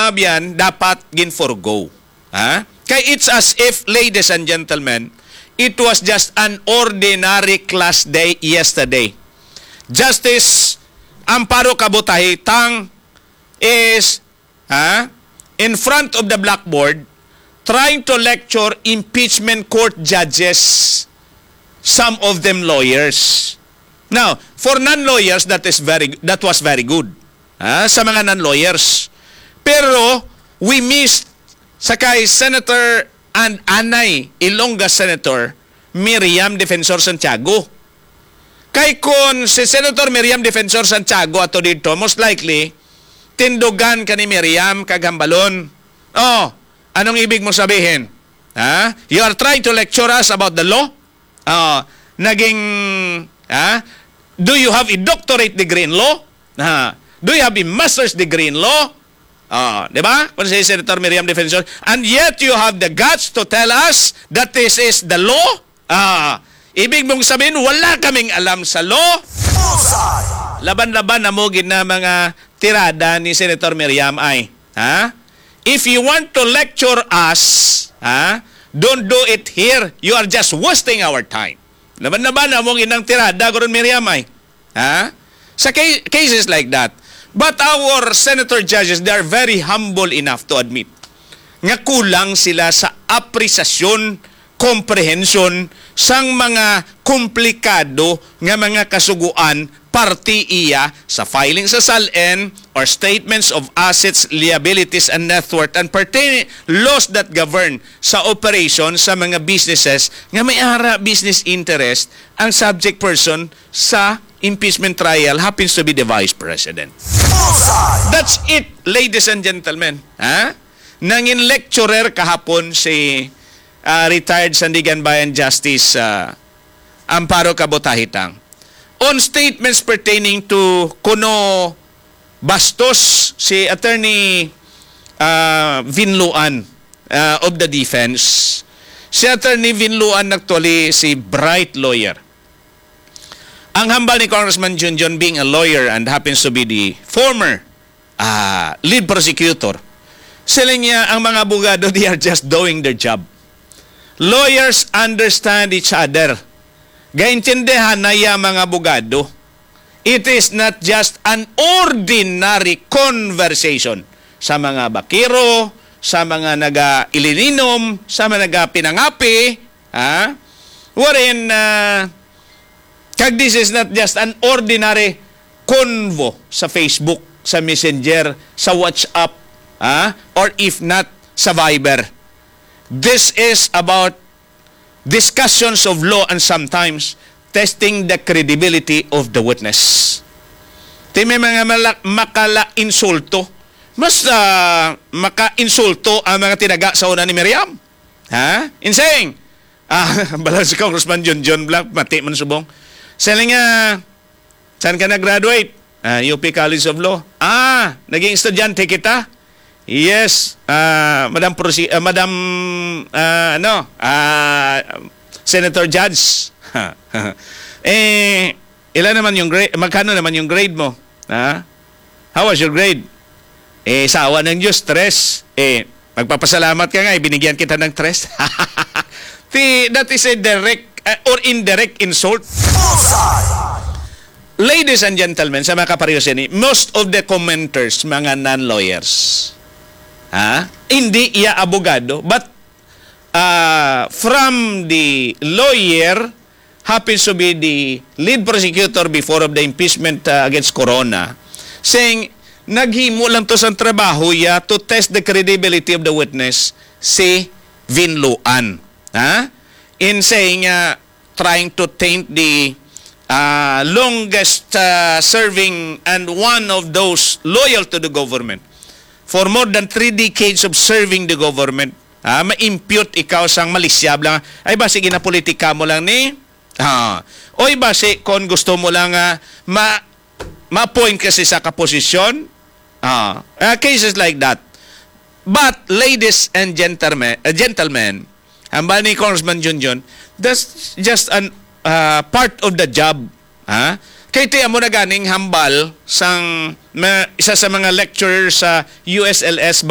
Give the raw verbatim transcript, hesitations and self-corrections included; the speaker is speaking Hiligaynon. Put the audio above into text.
abyan dapat gin-forgo. Ha? Kay it's as if, ladies and gentlemen, it was just an ordinary class day yesterday. Justice Amparo Kabutahitang is, ha, in front of the blackboard trying to lecture impeachment court judges, some of them lawyers. Now, for non-lawyers, that is very that was very good. Ha, sa mga non-lawyers. Pero we missed sa kay Senator and anay Ilongga Senator Miriam Defensor Santiago. Kay kon si Senator Miriam Defensor Santiago ato didto, most likely tindugan ka ni Miriam kag hambalon. Oh, anong ibig mo sabihin? Ha? You are trying to lecture us about the law? Ah, naging, ha? Do you have a doctorate degree in law? Ha? Do you have a master's degree in law? Ah, di ba? Kung si Senator Miriam Defensor, and yet you have the guts to tell us that this is the law? Ah, ibig mong sabihin, wala kaming alam sa law? Laban-laban na mo gid na mga tirada ni Senator Miriam ay, ha? If you want to lecture us, ha? Don't do it here. You are just wasting our time. Laban-laban na mo gid nang tirada, Gurun Miriam ay. Ha? Sa ca- cases like that. But our senator judges, they are very humble enough to admit nga kulang sila sa apresasyon, komprehensyon sang mga komplikado nga mga kasuguan parte iya sa filing sa SALN or statements of assets, liabilities, and net worth, and pertaining laws that govern sa operation sa mga businesses nga may ara business interest ang subject person sa impeachment trial happens to be the Vice President. That's it, ladies and gentlemen. Ha? Nangin lecturer kahapon si, ah, retired Sandiganbayan Justice, ah, Amparo Cabotahitang on statements pertaining to kuno bastos si Attorney, ah, Vinluan, ah, of the defense. Si Attorney Vinluan actually si bright lawyer. Ang hambal ni Congressman Junjun, being a lawyer and happens to be the former, ah, lead prosecutor, siling niya, ang mga abogado, they are just doing their job. Lawyers understand each other. Gaintindihan na ya mga abogado. It is not just an ordinary conversation sa mga bakiro, sa mga naga-ilininom, sa mga naga-pinangapi, ha? Wherein, ah, kag this is not just an ordinary convo sa Facebook, sa Messenger, sa WhatsApp, ha? Or if not, sa Viber. This is about discussions of law and sometimes testing the credibility of the witness. Ti may mga mala- makala-insulto. Mas, ah, maka-insulto ang mga tinaga sa una ni Miriam. Ha? In saying, ah, bala si Congressman Junjun Black, mati man subong. Siling nga, saan ka nag-graduate? Ah, U P College of Law. Ah, naging estudyante kita? Yes, ah, Madam Prosi-, ah, Madam, ah, ano, ah, Senator Judge. Eh, ila naman yung grade, magkano naman yung grade mo? Ha? How was your grade? Eh, sa awa ng Diyos, tres. Eh, magpapasalamat ka nga, eh, binigyan kita ng tres. Ti-, that is a direct, uh, or indirect insult. Ladies and gentlemen, sa mga kapareho sini, most of the commenters, mga non-lawyers. Ha? Hindi iya abogado, but, uh, from the lawyer, happens to be the lead prosecutor before of the impeachment, uh, against Corona, saying, naghimo lang to sang trabaho ya to test the credibility of the witness, si Vinluan. Ha? In saying, uh, trying to taint the, uh, longest, uh, serving and one of those loyal to the government for more than three decades of serving the government, ah, ma-impute ikaw sang malisyab lang. Ay, basi ginapolitika mo lang ni? Ah. Oy, basi kon gusto mo lang, ah, ma-, ma-appoint ka sa isa ka posisyon? Ah, ah, cases like that. But, ladies and gentlemen, uh, gentlemen, hambal ni Congressman Junjun, that's just an, uh, part of the job. Ha? Kay ti amo na ganing hambal sang ma-, isa sa mga lecturer sa U S L S